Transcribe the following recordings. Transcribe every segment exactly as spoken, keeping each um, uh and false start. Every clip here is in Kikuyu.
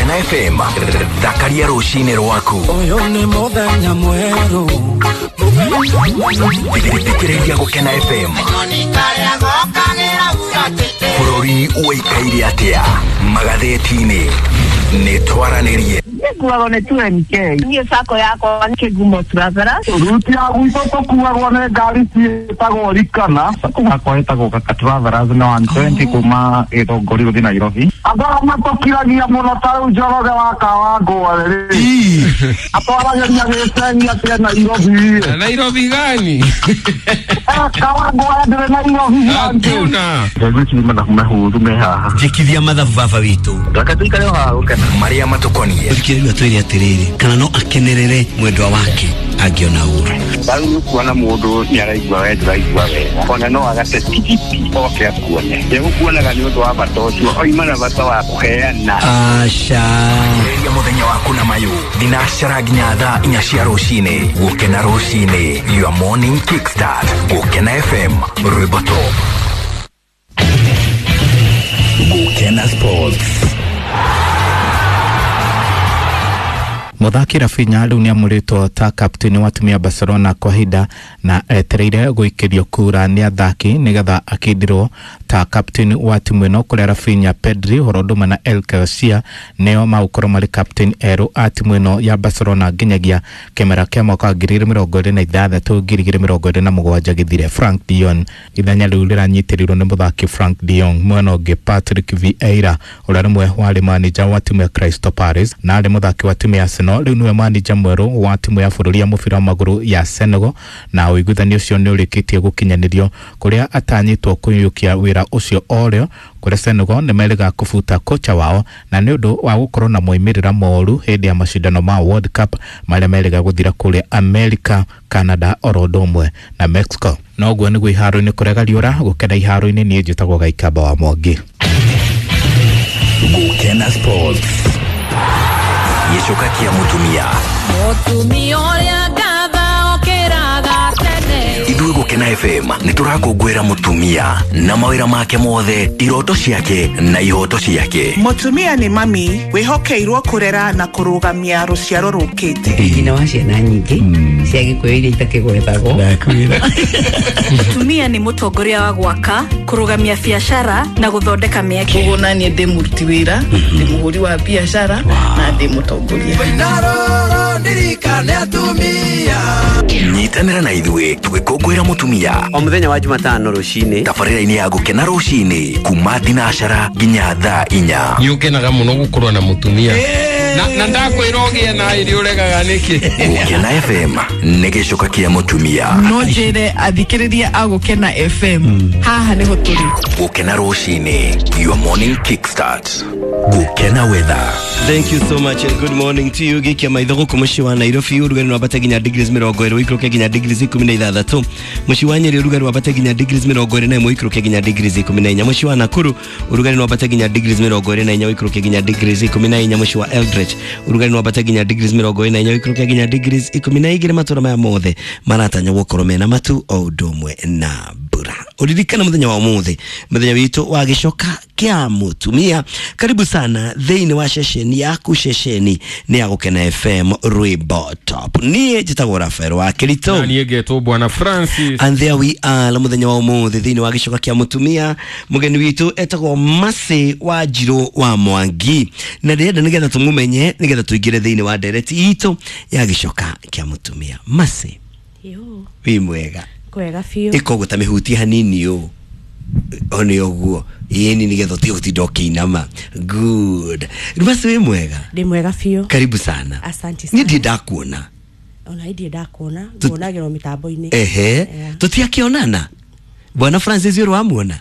Gũkena F M thakaria rũcinĩ rwaku. Ũyũ nĩ mũthenya mwerũ. Thikĩrĩria Gũkena F M. Bũrũri ũikaire atĩa magathĩti-inĩ nĩ twaranĩrie. Nĩkuagwo nĩ two M K. Niĩ sacco yakwa nĩ Kĩgumo Travelers. Ruti ya gwitũ tũkuagwo nĩ ngari ciĩtagwo Rikana. Sacco yakwa ĩtagwo Kaka Travelers na one twenty kuma Gĩthũngũri gũthiĩ Nairobi. Andũ arĩa matũkiragia mũno ta rĩu Njoroge wa Kawangware rĩ, atwaragĩria gĩcegi atĩ Nairobi. Nairobi gani? Kawangware ndĩrĩ Nairobi. Hakuna. Ngwĩciria mathabu mehũthũ me haha. Njĩkithia mathabu baba witũ. Reke tũikare o haha Gũkena. Marĩa matũkoniĩ. Thikĩrĩria twĩre atĩrĩrĩ, kana no akenerere mwendwa wake angĩona ũru. Rĩu nĩ ũkuona mũndũ nĩ araigua we ndũraigua wega, ona no agate tigiti oke akuone. Ndegũkuonaga nĩ ũndũ wa bata ũcio, oima na bata wa kũheana. Aca. Ambĩrĩria mũthenya waku na mayũ thinacara nginya thaa inya cia rũcinĩ. Gũkena rũcinĩ, your morning kickstart. Gũkena F M, rwĩmbo top. Gũkena Sports. Mũthaki Rafinha rĩu nĩamũrĩtwo ta kapteni wa timu ya Barcelona kwa ihinda na etereire gũikĩrio kura nĩ athaki nĩgetha akĩndirwo ta kapteni wa timu ĩno, kũrĩa Rafinha, Pedri, Horodoma na El Garcia nĩo magũkorwo marĩ kapteni erũ a timu ĩno ya Barcelona nginyagia kĩmera kĩa mwaka wa ngiri igĩrĩ mĩrongo ĩrĩ na ithathatũ ngiri igĩrĩ mĩrongo ĩrĩ na mũgwanja gĩthire. Frank de Jong ithenya rĩu rĩranyitĩrĩirwo nĩ mũthaki Frank de Jong. Mwena ũngĩ Patrick Vieira ũrĩa rĩmwe warĩ manager wa timu ya Crystal Palace na arĩ mũthaki wa timu ya Arsenal rĩu nĩwe manager mwerũ wa timu ya bũrũri ya mũbira wa magũrũ ya Senegal, na ũiguithanio ũcio nĩ ũrĩkĩtie gũkinyanĩrio kũrĩa atanyĩtwo kũiyũkia wĩra ũcio orĩo kũrĩa Senegal nĩ merĩga kũbuta kocha wao na nĩ ũndũ wa gũkorwo na moimĩrĩra moru hĩndĩ ya macindano ma World Cup marĩa merĩga gũthira kũrĩa America, Canada oro ũndũ ũmwe na Mexico. Noguo nĩguo iharo-inĩ kũrega riũra. Gũkena iharo-inĩ niĩ njĩtagwo Gaikamba wa Mwangi. Gũkena Sports. Gĩcoka kĩa mũtumia. Mũtumia ũrĩa ngatha okĩraga tene. Ithuĩ Gũkena F M nĩ tũrakũngũĩra mũtumia na mawĩra make mothe, iroto ciake na ihoto ciake. Mũtumia nĩ mami wĩhokeirwo kũrera na kũrũgamia rũciaro rũkĩte. Nyina wa ciana nyingĩ cia Gĩkũyũ iria itakĩgwetagwo. Mũtumia nĩ mũtongoria wa gwaka, kũrũgamia biacara na gũthondeka mĩeke. Ũguo na niĩ ndĩ mũruti wĩra, ndĩ mũhũri wa biacara na ndĩ mũtongoria. Nyitanĩra na ithuĩ tũgĩkũngũĩra mũtumia o mũthenya wa Jumatano rũcinĩ tabarĩra-inĩ ya Gũkena rũcinĩ kuma thinacara nginya thaa inya. Nĩ ũkenaga mũno gũkorwo na mũtumia na na ndakwĩra ũgĩe na irio ũregaga nĩkĩ. Gũkena F M nĩ gĩcoka kĩa mũtumia. No njĩre athikĩrĩria a Gũkena F M haha nĩho tũrĩ. Gũkena rũcinĩ, your morning kickstart. Gũkena weather. Thank you so much and good morning to you. Gikia maitho gũkũ mũciĩ wa Nairobi ũrugarĩ wambate nginya degrees mĩrongo ĩrĩ ũikũrũke nginya degrees ikũmi na ithathatũ. Mũciĩ wa Nyeri ũrugarĩ wambate nginya degrees mĩrongo ĩrĩ na ĩmwe ũikũrũke nginya degrees ikũmi na inya. Mũciĩ wa Nakuru ũrugarĩ wambate nginya degrees mĩrongo ĩrĩ na inya ũikũrũke nginya degrees ikũmi na inya. Mũciĩ wa Eldoret ũrugarĩ wambate nginya degrees mĩrongo ĩrĩ na inya ũikũrũke nginya degrees ikũmi na igĩrĩ. Matũra maya mothe maratanya gũkorwo mena matu o ũndũ ũmwe na mbura. Ũririkana mũthenya wa ũmũthĩ, mũthenya witũ wa gĩcoka kĩa mũtumia. Karibu sana thĩinĩ wa ceceni yaku, ceceni nĩ ya Gũkena F M rwĩmbo top. Niĩ njĩtagwo Rafael wa Kirito na niĩ ngetwo Bwana Francis, and there we are mũthenya wa ũmũthĩ thĩinĩ wa gĩcoka kĩa mũtumia. Mũgeni witũ etagwo Mercy wa Njirũ wa Mwangi, na ndĩrenda nĩgetha tũmũmenye nĩgetha tũingĩre thĩinĩ wa ndereti itũ ya gĩcoka kĩa mũtumia. Mercy, wĩ mwega? Kwega biũ. Ĩkoguo ta mĩhutie hanini ũũ one ũguo ĩni nĩgetha ũtige gũtinda ũkĩinama. Good. Mercy wĩ mwega? Ndĩ mwega biũ. Karibu sana. Asante sana. Niĩ ndirĩ ndakuona. Ona ndirĩ ndakuona, nguonagĩrwo mĩtambo-inĩ. Ehe, tũtiakĩonana. Bwana Francis ũrĩ wamuona?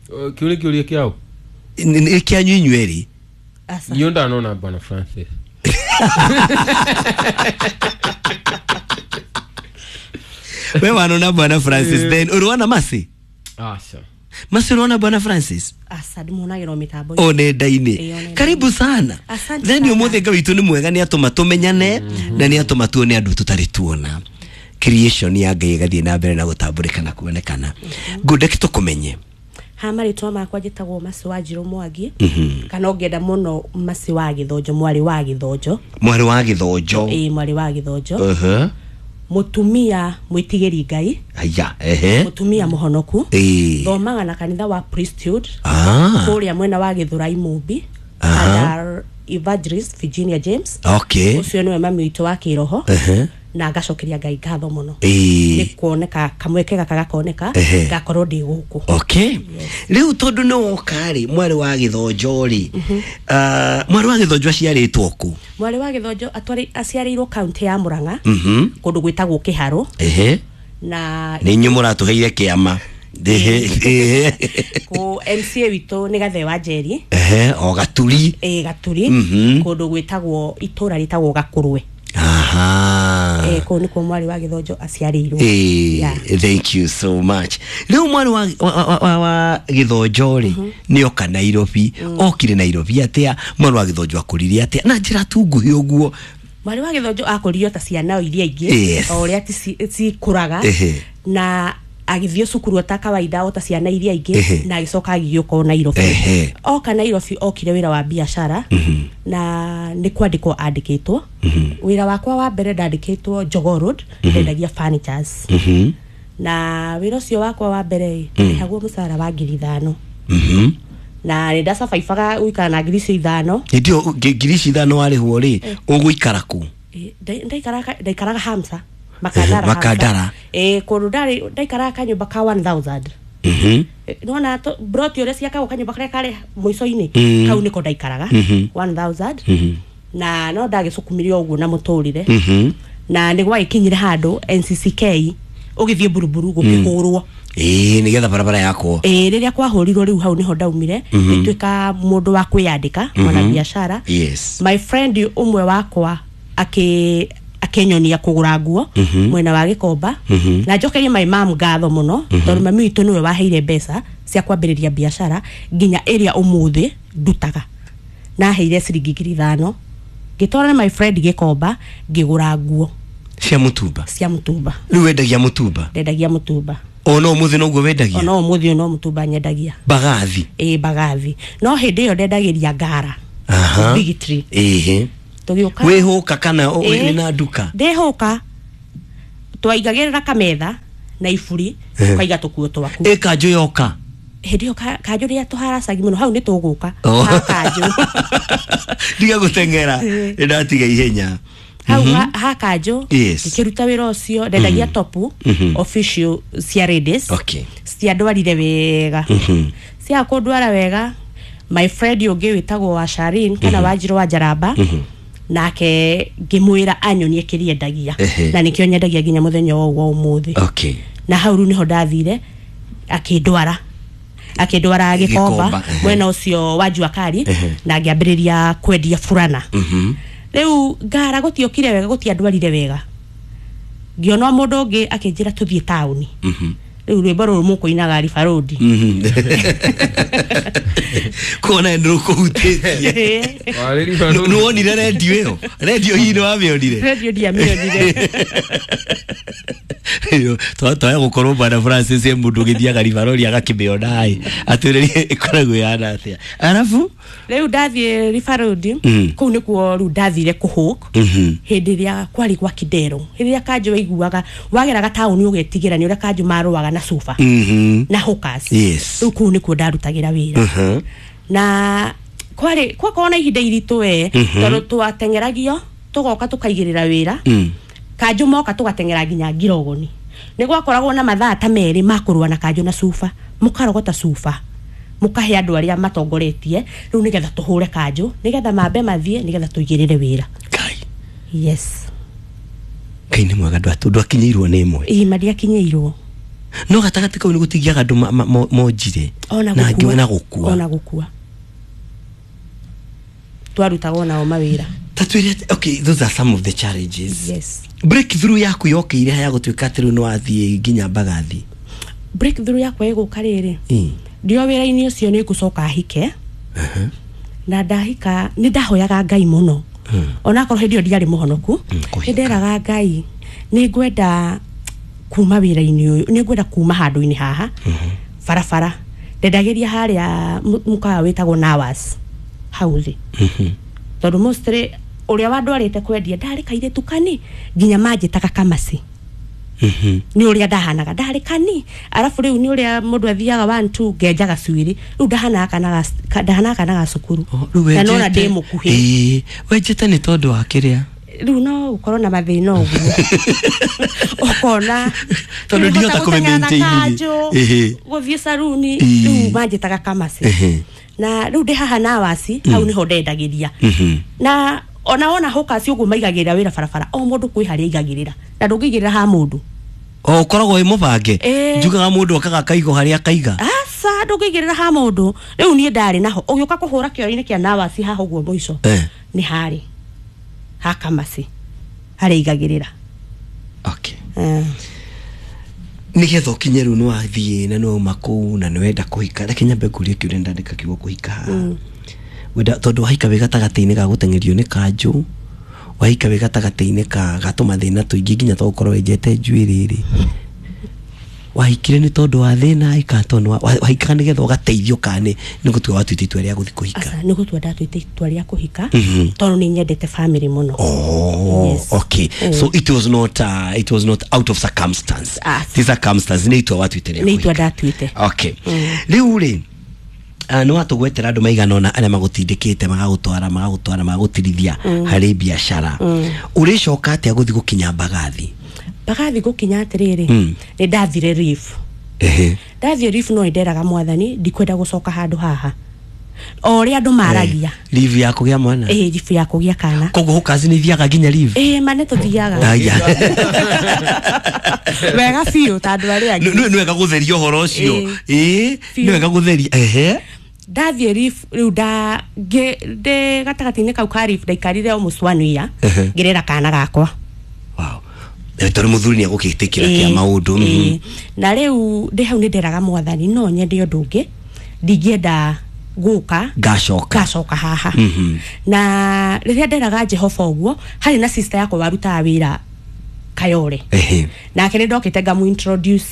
Kĩũria kĩũria kĩao? Nĩ kĩanyu inyuĩ erĩ. Niĩ ndanona Bwana Francis. We wanona Bwana Francis then uruona Mercy? Aca. Mercy uruona Bwana Francis? Aca ndimuonagĩrwo mĩtambo-inĩ. O nenda-inĩ. Karibu sana. Then ũmũthĩ Ngai witũ nĩ mwega nĩ atũma tũmenyane na nĩ atũma tuone andũ tũtarĩ tuona. Creation ya Ngai ĩgathiĩ na mbere na gũtambũrĩka na kuonekana. Ngũndeki tũkũmenye. Ha marĩtwa makwa njĩtagwo Mercy Wanjirũ Mwangi. Mhm. Kana ũngĩenda mũno Mercy wa Gĩthonjo, mwarĩ wa Gĩthonjo. Mwarĩ wa Gĩthonjo. Ĩĩ, mwarĩ wa Gĩthonjo. Ehe. Mũtumia mwĩtigĩri Ngai. Aya, ehe. Mũtumia mũhonoku. Ĩĩ. Thomaga na kanitha wa Priesthood. Ah. Kũrĩa mwena wa Gĩthũrai Mũmbi. Aha. Under Evangelist Virginia James. Okay. Ũcio nĩwe mami witũ wa kĩroho. Ehe. Na ngacokeria Ngai ngatho mũno. Ĩĩ. Nĩ kuoneka kamweke gaka gakoneka Ehe. ngakorwo ndĩ gũkũ. Okay. Rĩu tondũ nĩ woka rĩ, mwarĩ wa Gĩthonjo rĩ, ah, mwarĩ wa Gĩthonjo aciarĩtwo kũ? Mwarĩ wa Gĩthonjo atwarĩ aciarĩirwo kaunti ya Murang'a. Mhm. Kũndũ gwĩtagwo Kĩharũ. Ehe. Na Nĩ inyuĩ mũratũheire kĩama. Ehe. Ehe. kũ M C A witũ nĩ Gathe wa Njeri. Ehe, o Gaturi. Ĩĩ, Gaturi. Mhm. Kũndũ gwĩtagwo itũra rĩtagwo Gakũrwe. Aha. Eh, kũu nĩkuo mwarĩ wa Gĩthonjo aciarĩirwo. Eh, Yeah. thank you so much. Rĩu mwarĩ wa, wa, wa, wa, wa Gĩthonjo rĩ, nĩ oka Nairobi, okire Nairobi atĩa? Mwarĩ wa Gĩthonjo akũrire atĩa? Na njĩra tu nguhĩ ũguo. Mwarĩ wa Gĩthonjo akũririo ta ciana o iria ingĩ. Yes. O ũrĩa ti cikũraga. Ehe. Na agĩthiĩ cukuru o ta kawaida o ta ciana iria ingĩ. Ehe. Na agĩcoka agĩũka o Nairobi. Ehe. Oka Nairobi okire wĩra wa biacara. Mhm. Na nĩ kwandĩkwo andĩkĩtwo. Mhm. Wĩra wakwa wa mbere ndandĩkĩtwo Jogoo Road, Mhm. ndendagia furnitures. Mhm. Na wĩra ũcio wakwa wa mbere Mm. ndĩhagwo mũcara wa ngiri ithano. Mhm. Na nĩ ndacabaibaga gũikara na ngiri icio ithano. Hĩndĩ ĩyo ngi- ngiri ici ithano warĩhwo rĩ, ũgũikara kũ? Eh, nda- ndaikaraga ndaikaraga Hamsa. Makandara. Makandara. Eh, kũndũ ndarĩ ndaikaraga kanyũmba ka one thousand. Mhm. Eh, nĩwona to- broti ũrĩa ciakagwo kanyũmba karĩa karĩ mũico-inĩ, Mm. kau nĩko ndaikaraga Mhm. one thousand. Mhm. Na no ndagĩcukumirie ũguo na mũtũrĩre. Mhm. Na nĩ gwagĩkinyire handũ N C C K ũgĩthiĩ buruburu gũkĩhũrwo. Ĩĩ, nĩgetha barabara yakwo. Ĩĩ, rĩrĩa kwahũrirwo rĩu hau nĩho ndaumire, Mhm. ngĩtuĩka mũndũ wa kwĩyandĩka, mwana Mhm. biacara. Yes. My friend ũmwe wakwa akĩ akĩnyonia kũgũra nguo Mhm. mwena wa Gĩkomba. Mhm. Na njokerie my mom ngatho mũno, Mhm. tondũ mami witũ nĩwe waheire mbeca cia kwambĩrĩria biacara nginya ĩrĩa ũmũthĩ ndutaga. Naheire ciringi ngiri ithano ngĩtwara na my friend Gĩkomba ngĩgũra nguo cia mũtumba. Cia mũtumba. Rĩu wendagia mũtumba? Ndendagia mũtumba. O no ũmũthĩ noguo wendagia? Ona ũmũthĩ no mũtumba nyendagia. Mbagathi? Ĩĩ, mbagathi. No hĩndĩ ĩyo ndendagĩria ngara. Aha. Big Tree. Ĩhĩ. Tũgĩũka. Wĩhũka kana ũ- Ĩĩ. wĩna nduka? Ndĩhũka. Twaigagĩrĩra kametha na iburi, Ehe. ũkaiga tũkuo twaku. Ĩ kanjũ yoka? Hĩndĩ ĩyo ka- kanjũ rĩrĩa tũharacagi mũno hau nĩ tũgũka. Oh. Ha kanjũ. Ndiga gũteng'era. Ĩĩ. Nĩ ndatiga ihenya. Hau Mhm. ha, ha kanjũ Yes. ngĩkĩruta wĩra ũcio ndendagia Mhm. topu Mhm. official cia ladies. Okay. Ciandwarire wega. Mhm. Cia kũndwara wega my friend ũngĩ wĩtagwo wa Sharin kana Mhm. Wanjirũ wa Njaramba. Mhm. Nake ngĩmwĩra anyonie kĩrĩa endagia. Ehe. Na nĩkĩo nyendagia nginya mũthenya wa wa ũmũthĩ. Okay. Na hau rĩu nĩho ndathire akĩndwara. Akĩndwara Gĩkomba, Gĩkomba, ehe. mwena ũcio wa Jua Kali, Ehe. na ngĩambĩrĩria kwendia burana. Mhm. Rĩu ngara gũtiokire wega, gũtiandwarire wega. Ngĩona mũndũ ũngĩ akĩnjĩra tũthiĩ taũni. Mhm. Rĩu rwĩmbo rũrũ mũkũinaga River Road. Mhm. Kuona nĩ rũkũhutĩtie. Nĩ wonire redio ĩyo? Redio hihi nĩ wamĩonire? Redio ndiamĩonire. Twaya gũkorwo Bwana Francis e mũndũ ũgĩthiaga River Road agakĩmĩona ĩ, atwĩrĩrie ĩkoragwo ĩhana atĩa. Arabu? Rĩu ndathiĩ River Road, Mm. kũu nĩkuo rĩu ndathire kũhũk. Mhm. Hĩndĩ ĩrĩa kwarĩ gwa Kidero, hĩndĩ ĩrĩa kanjũ waiguaga wageraga taũni ũgetigĩra nĩ ũrĩa kanjũ marũaga na cuba. Mhm. Na hookers. Yes. Rĩu kũu nĩkuo ndarutagĩra wĩra. Mhm. Na kwarĩ gwakorwo na ihinda iritũ we, Mhm. tondũ twateng'eragio tũgoka tũkaigĩrĩra wĩra. Mm. Kanjũ moka tũgateng'era nginya Ngirogoni. Nĩ gwakoragwo na mathaa ta merĩ ma kũrũa na kanjũ na cuba, mũkarogota cuba, mũkahe andũ arĩa matongoretie rĩu nĩgetha tũhũre kanjũ, nĩgetha mambe mathiĩ, nĩgetha tũigĩrĩre wĩra. Ngai. Yes. Ngai nĩ mwega, ndwatu ndwakinyĩirwo nĩ ĩmwe. Ĩĩ, mandiakinyĩirwo. No gatagatĩ kau nĩ gũtigiaga andũ ma- ma- mo- monjire. Ona Na angĩ gũkua. na gũkua. Ona gũkua. Twarutagwo nao mawĩra. Ta twĩre atĩ, okay, those are some of the challenges. Yes. Breakthrough yaku yokĩire ha ya gũtuĩka atĩ rĩu nĩ wathiĩ nginya Mbagathi? Breakthrough yakwa ĩgũka rĩrĩ. Ĩĩ. Ndio wĩra-inĩ ũcio nĩ ngũcoka hike. Na ndahika nĩ ndahoyaga Ngai mũno. Onakorwo hĩndĩ ĩyo ndiarĩ mũhonoku, nĩ nderaga Ngai nĩ ngwenda kuma wĩra-inĩ ũyũ, nĩ ngwenda kuma handũ-inĩ haha barabara, Ndendagĩria harĩa mu- mũkawa wĩtagwo Nawas hau thĩ, tondũ mostly ũrĩa wandwarĩte kwendia ndarĩ kairĩtu kani nginya manjĩtaga Kamasi nĩ ũrĩa ndahanaga, ndarĩ kani. Arabu rĩu nĩ ũrĩa mũndũ athiaga one two ngenjaga cuĩrĩ, rĩu ndahanaga kana ga- ka- ndahanaga kana ga cukuru na nona ndĩ mũkuhĩ. Ĩĩ, wenjete nĩ tondũ wa kĩrĩa? Rĩu no ũkorwo na mathĩna ũguo ũkona Tondũ rĩu ndihota hota gũteng'era na kũmĩ-maintain. kanjũ, Ĩhĩ. gũthiĩ saruni. Ĩĩ. Rĩu manjĩtaga Kamasi. Ĩhĩ. Na rĩu ndĩ haha Nawasi hau nĩho ndendagĩria. Mhm. Na ona wona hũkaci ũguo maigagĩrĩra wĩra barabara, o mũndũ kwĩ harĩa aigagĩrĩra, na ndũngĩigĩrĩra ha mũndũ. O ũkoragwo wĩ mũbange. Ĩĩ. Njugaga mũndũ okaga akaiga harĩa akaiga. Aca, ndũngĩigĩrĩra ha mũndũ. Rĩu niĩ ndarĩ naho ũgĩũka kũhũra kĩoro-inĩ kĩa Nawasi haha ũguo mũico Eh. nĩ harĩ ha Kamasi harĩa aigagĩrĩra. Okay. Eh. Nĩgetha ũkinye rĩu nĩ wathiĩ na nĩ wauma kũu na nĩ wenda kũhika, reke nyambe ngũrie kĩũria, ndandĩka kiugo kũhika haha. Mm. Wenda tondũ wahika wĩ gatagatĩ-inĩ ga gũteng'erio nĩ kanjũ, wahika wĩ gatagatĩ-inĩ ka ga tũmathĩna tũingĩ nginya to gũkorwo wenjete njuĩrĩ rĩ, wahikire nĩ tondũ wa thĩna ĩ kana tondũ wa- wahikaga nĩgetha ũgateithio kana nĩ nĩ gũtua watuĩte itua rĩa gũthiĩ kũhika? Aca, nĩ gũtua ndatuĩte itua rĩa kũhika Mhm. tondũ nĩ nyendete family mũno. Oh, Yes. okay. Mm. So it was not uh, it was not out of circumstance. Ah. Ti circumstance, nĩ itua watuĩte rĩa Nĩ itua kũhika. ndatuĩte. Okay. Rĩu rĩ, uh, nĩ watũgwetera andũ maigana ũna arĩa magũtindĩkĩte, magagũtwara magagũtwara magagũtirithia Mm. harĩ biacara. Mm. Ũrĩcoka atĩa gũthiĩ gũkinya Mbagathi? Mbagathi gũkinya atĩrĩrĩ, Mm. nĩ ndathire leave. Ehe. Ndathiĩ leave no nderaga Mwathani ndikwenda gũcoka handũ haha o ũrĩa andũ maragia. Leave ya kũgĩa mwana? Ĩĩ, leave ya kũgĩa kana. Koguo hũkaci nĩ ithiaga nginya leave? Ĩĩ, ma nĩ tũthiaga. Aya. Wega biũ ta andũ arĩa angĩ. Nĩ nĩ wega gũtheria ũhoro ũcio. Ĩĩ. Ĩĩ, Biũ. nĩ wega gũtheria. Ehe. Ndathiĩ leave rĩu nda ngĩ- ndĩ gatagatĩ-inĩ kau ka leave ndaikarire almost one year Ehe. ngĩrera kana gakwa. Eh, tondũ mũthuri nĩ egũgĩtĩkĩra kĩa Ĩĩ, maũndũ. mhm. ĩĩ. Na rĩu ndĩ hau nĩ nderaga Mwathani no nyende ũndũ ũngĩ, ndingĩenda gũka Ngacoka. Ngacoka haha. Mhm. Na rĩrĩa nderaga Jehova ũguo, harĩ na sister yakwa warutaga wĩra Kayore. Ehe. Nake nĩ ndokĩte ngamu introduce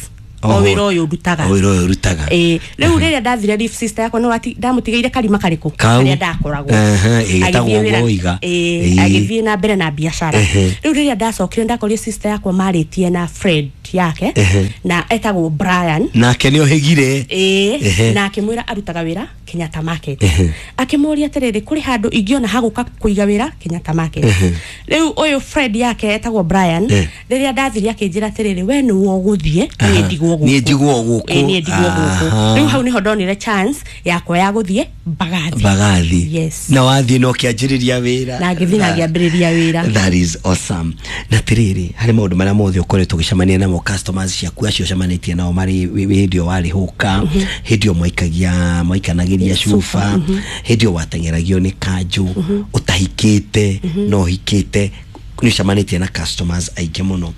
o Oho. wĩra ũyũ ndutaga. O wĩra ũyũ ũrutaga. Ĩĩ, rĩu rĩrĩa ndathire leave, sister yakwa nĩ wati ndamũtigĩire karima karĩkũ? Kau. Karĩa ndakoragwo. Ehe, ĩĩ, ĩtagwo Agĩthiĩ wĩra- Woiga. Ĩĩ, Ĩĩ. agĩthiĩ na mbere na biacara. Ehe. Rĩu rĩrĩa ndacokire ndakorire sister yakwa marĩtie na friend yake Ehe. na etagwo Brian. Nake nĩ ohĩgire. Ĩĩ, Ehe. na akĩmwĩra arutaga wĩra Kenyatta Market. Ehe. Akĩmũria atĩrĩrĩ, kũrĩ handũ ingĩona hagũka kũiga wĩra Kenyatta Market? Ehe. Rĩu ũyũ friend yake etagwo Brian, Eh. rĩrĩa ndathire akĩnjĩra atĩrĩrĩ, we nĩwe ũgũthiĩ, niĩ ndigwo gũkũ. Niĩ ndigwo gũkũ. Ĩĩ, niĩ ndigwo gũkũ. Aha. Rĩu hau nĩho ndonire chance yakwa ya gũthiĩ Mbagathi. Mbagathi. Yes. Na wathiĩ na ũkĩanjĩrĩria wĩra. Na ngĩthiĩ na ngĩambĩrĩria wĩra. That is awesome. Na tirĩrĩ, harĩ maũndũ marĩa mothe ũkoretwo ũgĩcemania namo, customers ciaku acio ũcemanĩtie nao marĩ wĩ- wĩ- hĩndĩ ĩyo warĩ hũka, hĩndĩ ĩyo mwaikagia mwaikanagĩria cuba, hĩndĩ ĩyo wateng'eragio nĩ kanjũ, ũtahikĩte na ũhikĩte, nĩ ũcemanĩtie na customers aingĩ mũno.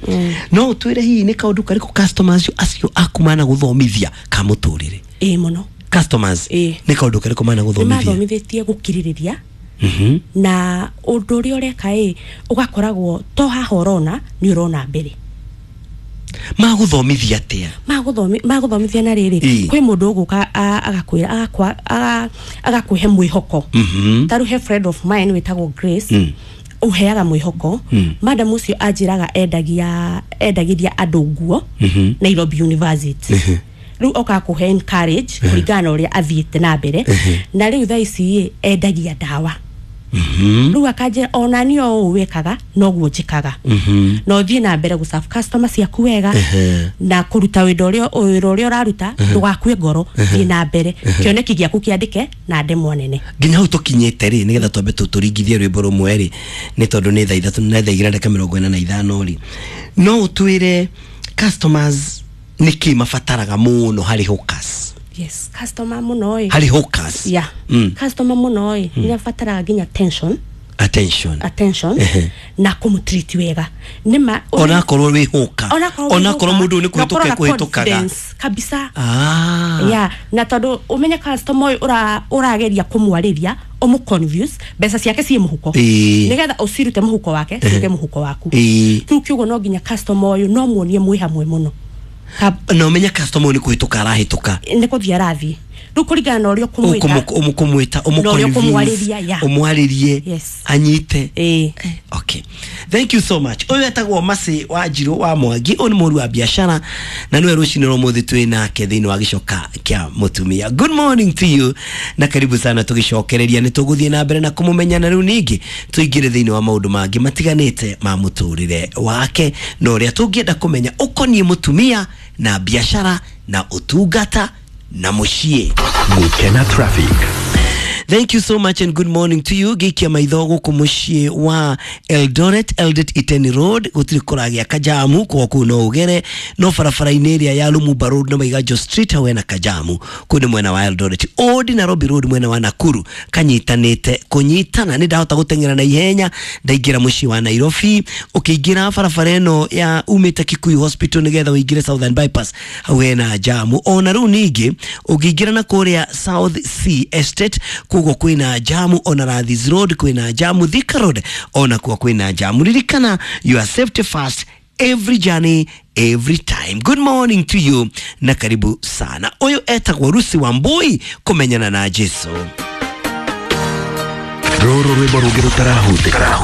No ũtwĩre hihi nĩ kaũndũ karĩkũ customers acio aku managũthomithia ka mũtũrĩre? Ĩĩ, mũno. Customers Ĩĩ. nĩ kaũndũ karĩkũ Nĩ managũthomithia? mathomithĩtie gũkirĩrĩria Mhm. na ũndũ ũrĩa ũreka ĩ ũgakoragwo to haha ũrona nĩ ũrona mbere. Magũthomithia atĩa? Magũthomi- magũthomithia na rĩrĩ, Ĩĩ. kwĩ mũndũ ũgũka a- agakwĩra agakwa- aga- agakũhe mwĩhoko. Mhm. Ta rĩu he friend of mine wĩtagwo Grace, Mm. ũheaga mwĩhoko. Mm. Madam ũcio anjĩraga endagia endagĩria andũ nguo Mhm. Nairobi University. Mhm. Rĩu okaga kũhe encourage kũringana na ũrĩa athiĩte na mbere, Mhm. na rĩu thaa ici ĩ endagia ndawa. Mhm. Rĩu akanjĩra ona niĩ o ũũ wĩkaga noguo njĩkaga, Mhm. na ũthiĩ na mbere gũserve customer ciaku wega Ehe. na kũruta wĩra ũrĩa wĩra ũrĩa ũraruta, ndũgakue ngoro, thiĩ na mbere, kĩoneki gĩaku kĩandĩke na ndemwa nene. Nginya hau tũkinyĩte rĩ, nĩgetha twambe tũ- tũringithie rwĩmbo rũmwe rĩ, nĩ tondũ nĩ thaa ithatũ na thaa igĩrĩ na ndagĩka mĩrongo ĩna na ithano rĩ, no ũtwĩre customers nĩ kĩ mabataraga mũno harĩ hawkers? Yes, customer mũno ĩ. Harĩ hawkers. Yeah. Mm. Customer mũno ĩ nĩ abataraga nginya attention. Attention. Attention Ehe. na kũmũtreat wega nĩ ma. Onakorwo wĩ hawker, onakorwo wĩ onakorwo hawker, mũndũ ũyũ nĩ na kũhĩtũka ũkorwo na ekũhĩtũkaga. confidence kabisa. Ah. Yeah, na tondũ ũmenye customer ũyũ ũra- ũrageria kũmwarĩria ũmũ confuse, mbeca ciake ciĩ mũhuko, Ĩĩ. nĩgetha ũcirute mũhuko wake ciũke mũhuko waku. Ĩĩ. Kĩu kiugo no nginya customer ũyũ no muonie mwĩ hamwe mũno. Na ũmenye customer ũyũ nĩ kũhĩtũka arahĩtũka. Nĩ kũthiĩ arathiĩ. Rĩu kũringana na ũrĩa ũkũmwĩka, ũkũmwĩta, na ũrĩa ũkũmwarĩria, yeah. ũmwarĩrie Yes. anyite. Ĩĩ. Okay, thank you so much. Ũyũ etagwo Mercy wa Njirũ wa Mwangi, ũyũ nĩ mũru wa biacara na nĩwe rũcinĩ rwa ũmũthĩ twĩ nake thĩinĩ wa gĩcoka kĩa mũtumia. Good morning to you na karibu sana. Tũgĩcokereria nĩ tũgũthiĩ na mbere na kũmũmenya, na rĩu ningĩ tũingĩre thĩinĩ wa maũndũ mangĩ matiganĩte ma mũtũrĩre wake na ũrĩa tũngĩenda kũmenya ũkoniĩ mũtumia na biacara na ũtungata na mũciĩ. Gukena traffic. Thank you so much and good morning to you. Gĩikia maitho gũkũ mũciĩ wa Eldoret, Eldoret Iten Road, gũtirĩ kũragĩa kajamu, kwa kũu no ũgere, no barabara-inĩ ĩrĩa ya Lumumba Road na Maiganjo Street hau hena kajamu, kũu nĩ mwena wa Eldoret. Old Nairobi Road mwena wa Nakuru kanyitanĩte kũnyitana, nĩ ndahota gũteng'era na ihenya ndaingĩra mũciĩ wa Nairobi. Ũkĩingĩra barabara ĩno ya umĩte Kikuyu Hospital nĩgetha ũingĩre Southern Bypass, hau hena jamu. Ona rĩu ningĩ ũngĩingĩra na kũrĩa South C Estate, koguo kwĩna jamu. Ona Rathis Road kwĩna jamu, Thika Road ona kuo kwĩna jamu. Ririkana, your safety first, every journey, every time. Good morning to you na karibu sana. Ũyũ etagwo Rusi wa Mbui, kũmenyana na Jesu. Rũrũ rwĩmbo rũngĩ rũtarahutĩka.